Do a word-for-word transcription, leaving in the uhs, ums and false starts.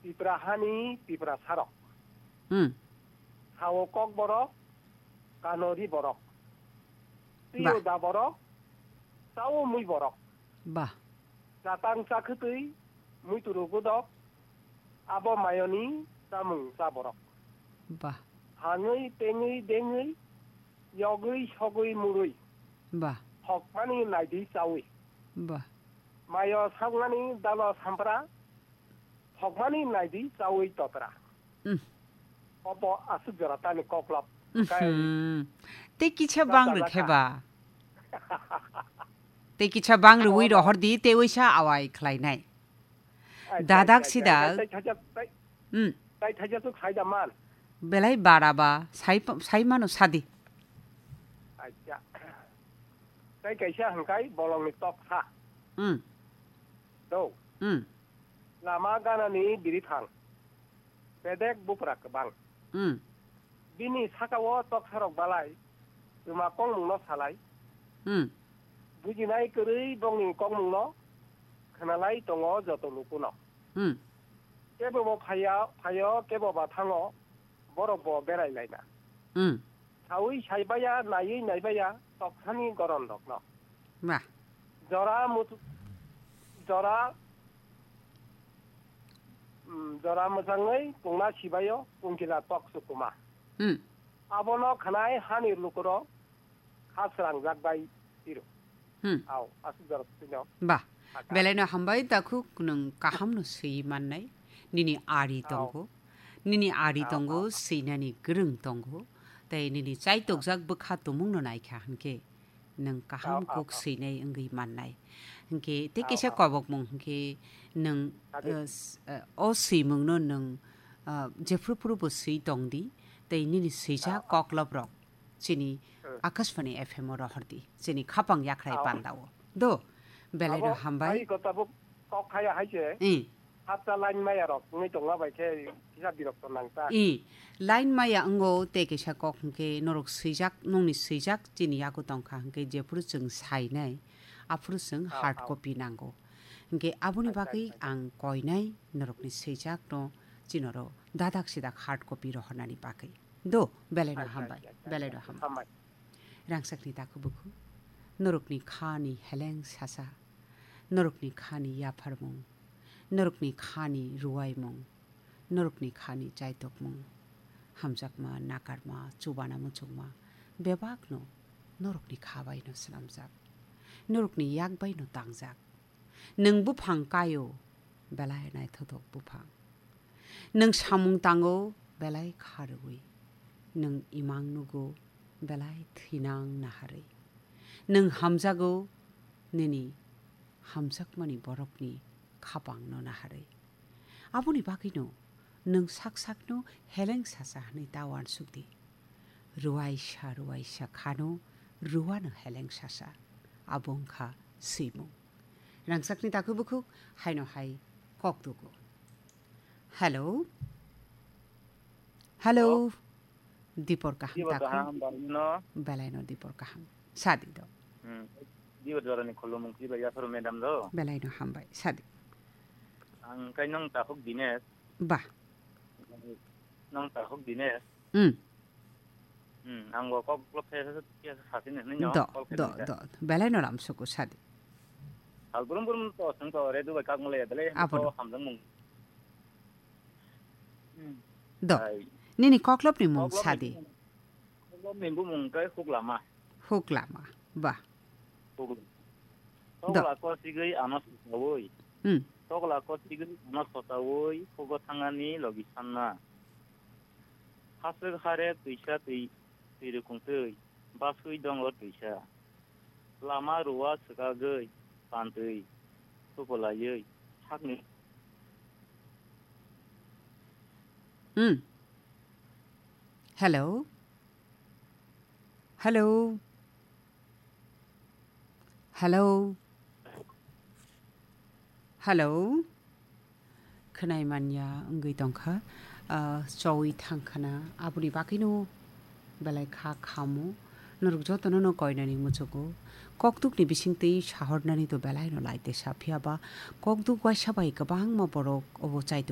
Tipra hani Tipra sarok. Hmm. Sao kok borok, kano ri borok. Ba. Tio da borok, sao mui borok. Ba. Chatang chakhwtwi, muituru godok, abo mayoni chamung cha borok. Ba. Hangwi tengwi dengwi, yogwi sogwi murwi. Ba. Hokmani naidi chawi. Ba. Mayo sakmani dalo sampra, hokmani naidi chawi totra. Hmm. Obo aswk jora tani koklop. Kai Mhm. Tei kisa bang rwkhe ba. Tei kisa bang rwui rohor di, tei uisa awai khlainai. Ai, Dadak tai, tai, sidak. Tai, tai, tai, tai, Hmm. Tai thaisa tuk sai da man. Belai bara ba, sai pa-, sai mano sadi. Acha. Tai kaisa hangkai bolongni toksa. Hmm. Do. Hmm. Lama ganani birithang. Bedek bupra kwbang. Hmm. Bini sakao toksarok balai, twma kongmungno salai. Hmm. Bujinai kwrwi bongni kongmungno khwnalai tongo joto lukuno. Hmm. Kebo bo phaiya, phaio, kebo ba thango, borok bo berai laina. Hmm. Saui saibaya, naiui naibaya, toksani goron rokno. Ba. Jora mutu-, jora, mm, jora mwchangwi pungna sibaio, pungkila tok sukuma. Hmm. Abono khanai hani lukurok kha srangjak bai tiro. Hmm. Au, aswk jora tino. Ba, Aka. Belaino hambai takhuk nwng kahamno swi mannai. Nini ari Au. Tongo. Nini ari Au, tongo, au. Swinani gwrwng tongo. Tei nini chaitokjak bwkha tumungno naikha hwnkhe nwng kaham Au, au, kuk au. Swinai wngwi mannai. Hwnkhe tei Au, kisa au. Kobokmung hwnkhe nwng, Ade. Eh, s-, eh, o swimungno nwng, eh, jephru phru bo swi tongdi. Tei nini swijak Au, au. Kokloprok. Chini Hmm. Akashvani F M o rohordi, chini khapang yakhrai Ao. Pandao. Do, belaino Abo hambai. Hai ko tabuk kok khaya hai se. I. Hapta line maya rok wngwi tongma bai khe kisa birokto nang ta. I, line maya wngo tei kaisa kok hwnkhe norok swijak, nongni swijak chini yago tongkha hwnkhe jephuru chwng sainai, aphuru chwng Ao, hard ao. Copy nango. Hwnkhe aboni Acha, bagwi acha, acha. Ang koinai norokni swijakno chinoro dadak sidak hard copy rohornani bagwi. Do, belaino Acha, hambai, acha, acha, belaino acha. Hambai. Hambai. Rangchakni takhuk bukhuk, norokni khani heleng sasa, norokni khani yapharmung, norokni khani ruwaimung, norokni khani chaitokmung, hamjakma, nakarma, chubana muchungma, bebakno norokni kha baino swnamjak, norokni yak baino tangjak. Nwng buphang kaio, belai naithothok buphang. Nwng samung tango, belai kharwi. Nwng imang nugo, belai thwinang naharwi. Nwng hamjago, nini hamjakmani borokni khapangno naharwi. Aboni bagwino nwng sak sakno heleng sasa hwnwi ta uansukdi. Ruaisa ruaisa khano ruano heleng sasa. Abo wngkha swimung. Rangchakni takhuk bukhuk haino hai kok tugo. Hello? Hello? Hello? Dipor kaham Dipor takhuk. Kaham, barino. Belaino dipor kaham. Sadi do. Hmm. Dipor jorani khulumung kiba yapharo madam do. Belaino hambai. Sadi. Ang kai nong takhuk Dinesh. Ba. Nong takhuk Dinesh. Hmm. Hmm, ang bo kok kok khe khe khe sasin hinwi no Do, call khe do, nang khe. Do. Belai no lam suku sadi. Hal brum brum to sung to re Dubai kak mole belai Abo to no. Hamjang mung. Hmm. Do. Ai. Nini koklop ni mung Koklop ni sadi. Mung, koklop ni bumung kai huk lama. Huk lama. Ba. Huk. Do. Tokla ko sigwi ano sawoi. Hmm. Tokla ko sigwi ano sawoi hugo thangani logi sanna. Haswk harep twisa twi, twi rwkung twi, baswi dongo twisa. Lama rua swkagwi, pantwi, thupulaiwi, sakni. Hmm. Hello? Hello? Hello? Hello? Khwnai manya wngwi tongkha, ah, chowi thangkhana, aboni bagwino belai kha khamu. Norok jotono no koinani muchugo. Kokdukni bisingtwi sahornani to belaino laite sa, phiyaba kokduk waisa bai kwbangma borok obo chaitok